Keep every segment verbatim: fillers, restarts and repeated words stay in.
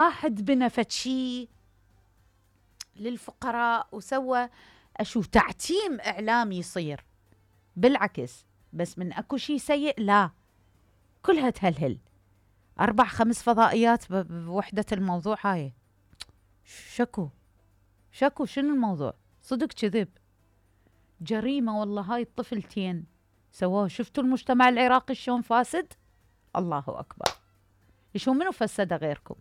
واحد بنى فد شي للفقراء وسوى أشو تعتيم إعلامي يصير، بالعكس بس من أكو شي سيء لا، كلها تهلهل. أربع خمس فضائيات بوحدة الموضوع هاي، شكو شكو شنو الموضوع؟ صدق كذب، جريمة والله. هاي الطفلتين سووه، شفتوا المجتمع العراقي شلون فاسد؟ الله أكبر. شو منو فسده غيركم؟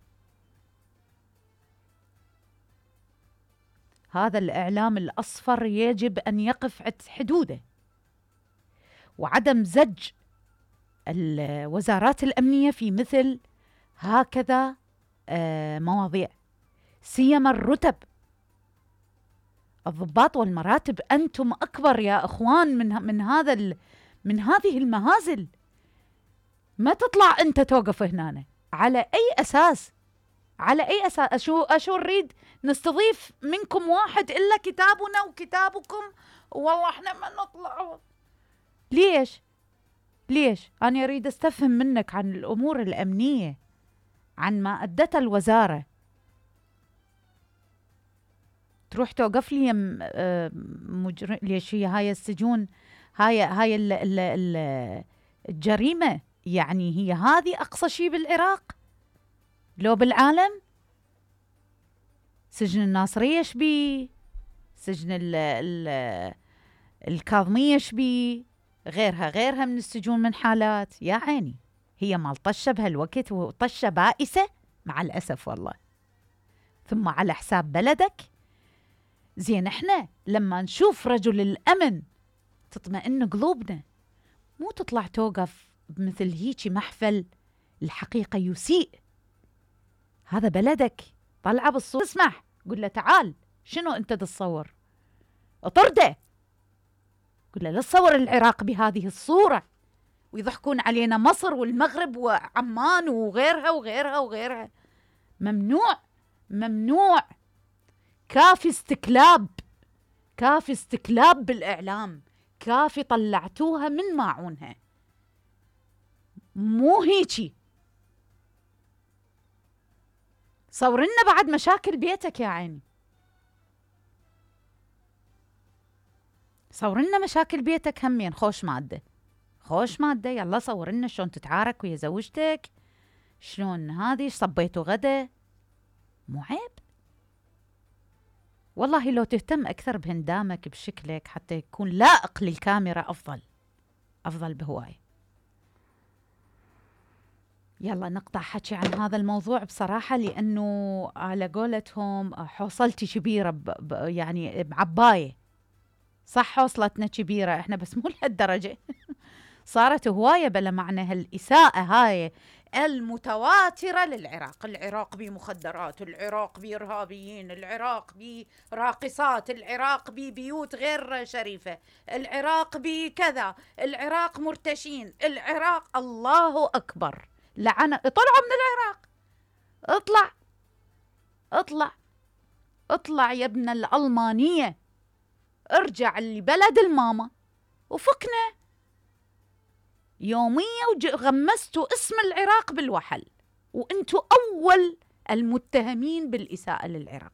هذا الإعلام الأصفر يجب أن يقف عند حدوده، وعدم زج الوزارات الأمنية في مثل هكذا مواضيع، سيما الرتب، الضباط والمراتب. أنتم أكبر يا أخوان من من هذا من هذه المهازل. ما تطلع أنت توقف هنا على أي أساس؟ على أي أساس؟ أشو أشو نريد نستضيف منكم واحد إلا كتابنا وكتابكم، والله إحنا ما نطلع. ليش؟ ليش؟ أنا أريد أستفهم منك عن الأمور الأمنية، عن ما أدته الوزارة. تروح توقف لي مجرم؟ ليش هي هاي السجون، هاي هاي ال ال ال الجريمة؟ يعني هي هذه أقصى شيء بالعراق لو بالعالم؟ سجن الناصرية شبي، سجن ال ال الكاظمية شبي، غيرها غيرها من السجون من حالات. يا عيني، هي مال طشة بهالوقت، وطشة بائسة مع الأسف والله، ثم على حساب بلدك. زين احنا لما نشوف رجل الأمن تطمئن قلوبنا، مو تطلع توقف بمثل هيجي محفل الحقيقة يسيء. هذا بلدك، طلعه بالصورة، اسمح قل له تعال شنو انت تصور، اطرده، قل له لا تصور العراق بهذه الصورة ويضحكون علينا مصر والمغرب وعمان وغيرها وغيرها وغيرها. ممنوع ممنوع. كافي استكلاب، كافي استكلاب بالإعلام، كافي طلعتوها من ماعونها، مو هيجي. صورنا بعد مشاكل بيتك يا عيني، صورنا مشاكل بيتك همين، خوش مادة خوش مادة. يلا صورنا شلون تتعارك ويا زوجتك، شلون هذه صبيتوا غدا. مو عيب والله؟ لو تهتم أكثر بهندامك بشكلك حتى يكون لائق للكاميرا أفضل أفضل بهواي. يلا نقطع حكي عن هذا الموضوع بصراحة، لأنه على قولتهم حوصلتي كبيرة ب ب يعني بعباية. صح حوصلتنا كبيرة احنا، بس مو لهالدرجة. صارت هواية بلا معنى هالإساءة هاي المتواترة للعراق. العراق بمخدرات، العراق بإرهابيين، العراق براقصات، العراق ببيوت غير شريفة، العراق بكذا، العراق مرتشين، العراق. الله أكبر، لعنة. طلعوا من العراق، اطلع اطلع اطلع يا ابن الألمانية، ارجع لبلد الماما وفكنا. يومية وغمستوا اسم العراق بالوحل، وانتوا أول المتهمين بالإساءة للعراق.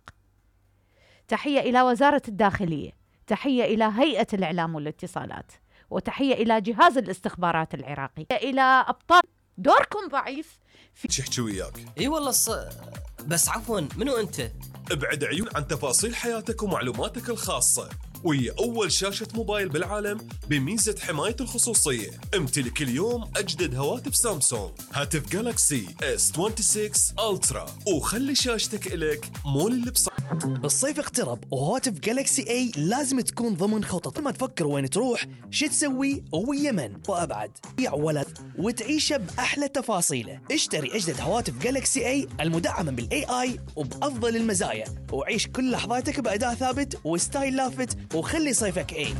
تحية إلى وزارة الداخلية، تحية إلى هيئة الإعلام والاتصالات، وتحية إلى جهاز الاستخبارات العراقي، إلى أبطال. دوركم ضعيف في شحكي وياك. اي والله الص... بس عفوا منو انت؟ ابعد عيون عن تفاصيل حياتك ومعلوماتك الخاصة، وهي أول شاشة موبايل بالعالم بميزة حماية الخصوصية. امتلك اليوم أجدد هواتف سامسونج، هاتف جالاكسي إس ستة وعشرين ألترا، وخلي شاشتك إلك مو اللي بص. الصيف اقترب وهواتف جالاكسي اي لازم تكون ضمن خطط. ما تفكر وين تروح، شو تسوي ويمن وابعد، بيع ولد وتعيشه باحلى تفاصيله. اشتري اجدد هواتف جالاكسي اي المدعمه بالاي اي وبافضل المزايا، وعيش كل لحظاتك باداء ثابت وستايل لافت، وخلي صيفك اي.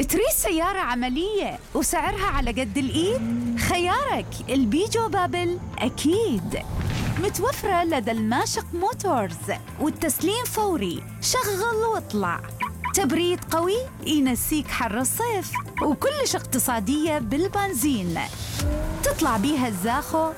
تريد سيارة عملية وسعرها على قد الإيد؟ خيارك البيجو بابل أكيد. متوفرة لدى الماشق موتورز، والتسليم فوري. شغل واطلع. تبريد قوي ينسيك حر الصيف، وكلش اقتصادية بالبنزين. تطلع بيها الزاخو